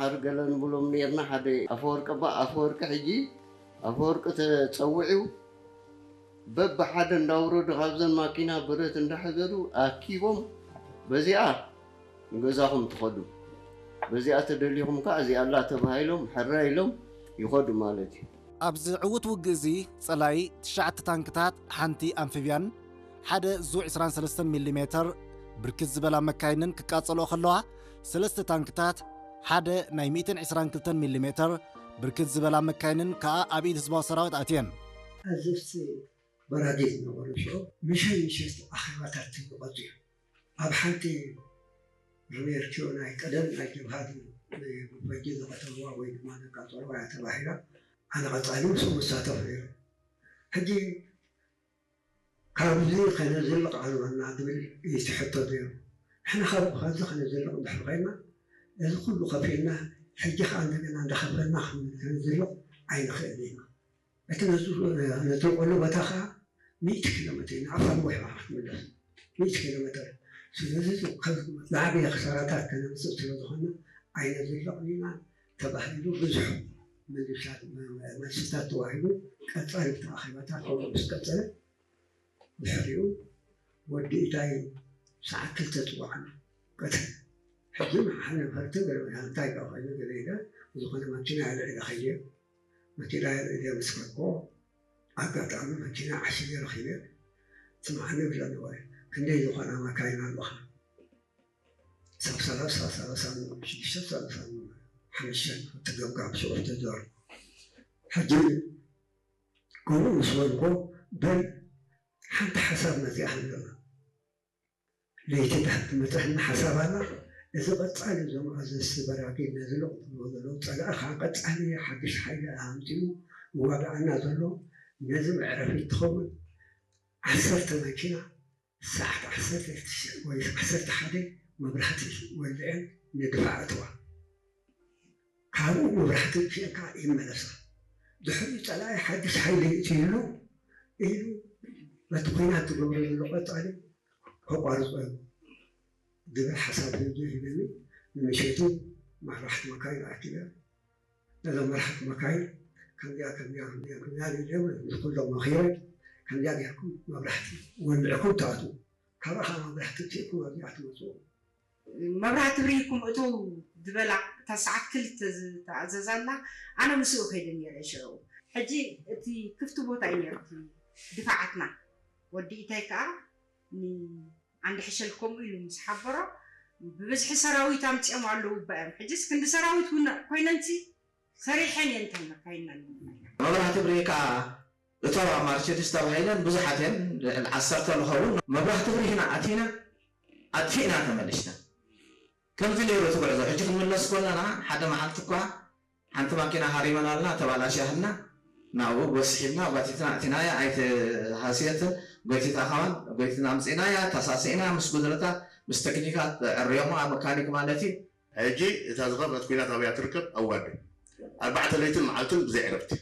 ሓር ገለ ንብሎም ነርና። ሓደ ኣፈወርቂ ባ ኣፈወርቂ ሕጂ ኣፈወርቂ ተጸዊዑ በብሓደ እንዳውረዱ ካብዘን ማኪና ብረት እንዳሕዘሉ ኣኪቦም በዚኣ ንገዛኹም ትኸዱ፣ በዚኣ ተደሊኹም ከዓ እዚኣ ኣላ ተባሂሎም ሕራይ ኢሎም ይኸዱ ማለት እዩ። ኣብዚ ዕዉት ውግእ እዚ ጸላኢ ትሽዓተ ታንክታት፣ ሓንቲ ኣምፊብያን ሓደ ዙ ዕስራን ሰለስተን ሚሊ ሜተር ብርክት ዝበላ መካይንን ክቃጸልኦ ከለዋ፣ ሰለስተ ታንክታት፣ ሓደ ናይ ሚእትን ዕስራን ክልተን ሚሊ ሜተር ብርክት ዝበላ መካይንን ከኣ ኣብ ኢድ ህዝባዊ ሰራዊት ኣትየን። ኣዘዝቲ በራጊ ዝነበሩ ሽዑ ምሸት ምሸት ኣኼባታት ይቐጹ እዮም። ኣብ ሓንቲ ርሜርኪዮ ናይ ቀደም ናይ ጀብሃ ፈንጂ ዝቐተልዋ ወይ ድማ ዘቃጸልዋ እያ ተባሂላ፣ ኣነ ቀጻሊ ምስኡ ክሳተፍ ነይረ። ሕጂ ካብዚ ከነዝልቕ ኣለና ዝብል እዩ እቲ ሕቶ ነይሩ። ንሕና ካብ ካብዚ ከነዝልቕ እንድሕር ኮይና፣ እዚ ኩሉ ከፊልና፣ ሕጂ ከኣ እንደገና እንዳኸፈልና ከነዝልቕ ኣይንኽእልን ኢና። እቲ ነዚ ነተንቀሉ ቦታ ከኣ ሚእቲ ኪሎ ሜትር ኢና፣ ኣፋ ነዊሕ ኢና ክትምለስ። ሚእቲ ኪሎ ሜትር። ስለዚ ካብ ዝዓበየ ክሳራታት ከነምጽእ ስለ ዝኾንና ኣይነዝልቕን ኢና ተባሂሉ ብዙሕ መልስታት፣ መልስታት ተዋሂቡ ቀጻሊ እቲ ኣኼባታት ከምኡ ምስ ቀጸለ ድሕሪኡ ወዲ ኢታይ ሰዓት ክልተ ጽዋዕና ቀትሪ። ሕጂ ንሓነ ፈርተ ገለ እንታይ ደኣ ኮይኑ ገለ ኢለ ዝኾነ መኪና ኣልዒለ ከይደ። መኪና ኣልዒለ ምስ ከድኩ ኣጋጣሚ መኪና ዓሽገ ረኺበ። ስምዓኒ ይብለኒ ወይ ክንደይ ዝኾና መካይን ኣለኻ? ሰብ ሰላሳ፣ ሰላሳ ሽዱሽተ፣ ሰላሳ ሓሙሽተ፣ እቲ ገምጋም ሽዑ ተዘሩ። ሕጂ ከምኡ ምስ በልኩ፣ በል ሓንቲ ሓሳብ መጺኣትኒ ዘላ። ለይቲ ትመጽኣኒ ሓሳብ ኣላ። እዚ ቀጻሊ እዞም ኣዘዝቲ በራጊ ነዚ ለቑጥዎ ዘለዉ ጸላኢ ከኣ ቀጻሊ ሓድሽ ሓይሊ ኣምጺኡ ይዋግኣና ዘሎ። ነዚ መዕረፊ ትኸውን ዓሰርተ መኪና ሰዓት ዓሰርተ ወይ ዓሰርተ ሓደ መብራህቲ ወልዐን ንድፋዕ ኣተዋ። ካብኡ መብራህቲ ኣጥፊአን ከኣ ይመለሳ። ድሕሪኡ ጸላኢ ሓድሽ ሓይሊ የእትየሉ ኢሉ በቲ ኲናት ዝገብሮ ዘሎ ቀጻሊ ከቋርጾ እዩ ዝብል ሓሳብ ሂቡ ሂበኒ። ንምሸቱ መራሕቲ መካይን ኣኪበ። ነዞም መራሕቲ መካይን ከምዚኣ፣ ከምዚኣ፣ ከምዚኣ፣ ከምዚኣ ኢለ ንኹሎም መኺረ፣ ከምዚኣ ጌርኩም መብራህቲ ወልዕኩም ትኣትዉ። ካብኣ ኸዓ መብራህቲ ኣውጺእኩም ኣብዚኣ ትመጽኡ። መብራህቲ ኣብሪህኩም እተው ዝበላ፣ እታ ሰዓት ክልተ ዝተኣዘዛ ኣላ፣ ኣነ ምስኡ ከይደ ነይረ ሽዑ። ሕጂ እቲ ክፍቲ ቦታ እዩ ነይሩ እቲ ድፋዓትና። ወዲ ኢታይ ከኣ ንዓንዲ ሕሸል ከምኡ ኢሉ ምስ ሓበሮ፣ ብብዝሒ ሰራዊት ኣምጺኦም ኣለዉ እባ እዮም። ሕጂስ ክንዲ ሰራዊት እውን ኮይነንሲ ሰሪሐን እየን እተን መካይንና። መብራህቲ ኣብሪሂ ከኣ እተዋ ማርቸዲስ ተባሂለን ብዙሓት እየን፣ ልዕሊ ዓሰርተ ንኸውን። መብራህቲ ኣብሪህና ኣቲና ኣጥፊእና ተመሊስና። ከምዚ ነይሩ እቲ ጉዕዞ። ሕጂ ክንምለስ ከለና ሓደ መዓልቲ እኳ ሓንቲ ማኪና ሃሪመና ኣላ፣ ተባላሽያትና። ናብኡ ጎስሒብና፣ ጓቲትና ኣእቲናያ፣ ኣይተሃስየትን። ጎቲታ ከማን፣ ጎቲትና ኣምጺእናያ፣ ተሳሲእና ምስ ጉድለታ፣ ምስ ተክኒካት ዕርዮማ፣ መካኒክ ማለት እዩ። ሕጂ እታ ዝኸፍአት ኲናት ኣበያ ትርከብ? ኣብ ዋዲ። ኣርባዕተ ለይትን መዓልትን ብዘይ ዕረፍቲ።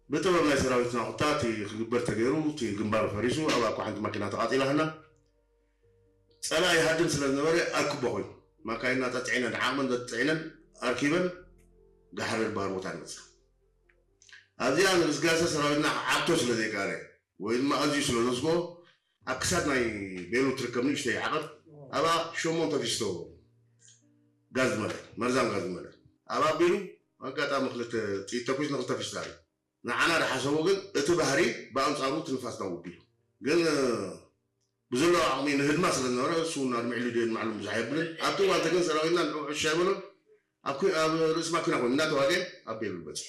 ብጥበብ ናይ ሰራዊትና ቁታ እቲ ክግበር ተገይሩ፣ እቲ ግንባር ፈሪሱ፣ ኣብኣ እኳ ሓንቲ ማኪና ተቓጺላ ሃላ። ጸላኢ ይሃድም ስለ ዝነበረ ኣርክቦ ኮይኑ፣ ማካይንና ጸጽዒነን፣ ዓቕመን ዘጽዒነን ኣርኪበን ጋሕሪ ድበሃል ቦታ ንመጻ። ኣብዚኣ ንግስጋሰ ሰራዊትና ክዓግቶ ስለ ዘይከኣለ፣ ወይ ድማ ኣዝዩ ስለ ዘስግኦ፣ ኣብ ክሳድ ናይ ቤሉ ትርከብ ንእሽተይ ዓቐብ፣ ኣብኣ ሸሞንተ ፊስቶ ጋዝ ዝመልአ፣ መርዛም ጋዝ ዝመልአ። ኣብኣ ኣቢሉ ኣጋጣሚ ክልተ ጥይት ተኩስ ንክልተ ፊስቶ ኣርዩ። ንዓና ዝሓሰቦ ግን እቲ ባህሪ ብኣንጻሩ እቲ ንፋስ ናብኡ ኣቢሉ። ግን ብዘለዎ ዓቕሚ ንህድማ ስለ ዝነበረ፣ እሱ እውን ኣድሚዕሉ ድዮ ንባዕሉ ብዙሕ ኣየብልን። ኣብቲ እዋን እቲ ግን ሰራዊትና ንዕኡ ዕሽ ኣይበሎን። ኣብ ኩ-፣ ኣብ ርእሲ ማኪና ኮይኑ እናተዋግአ ኣብ ቤሉ በጺሑ።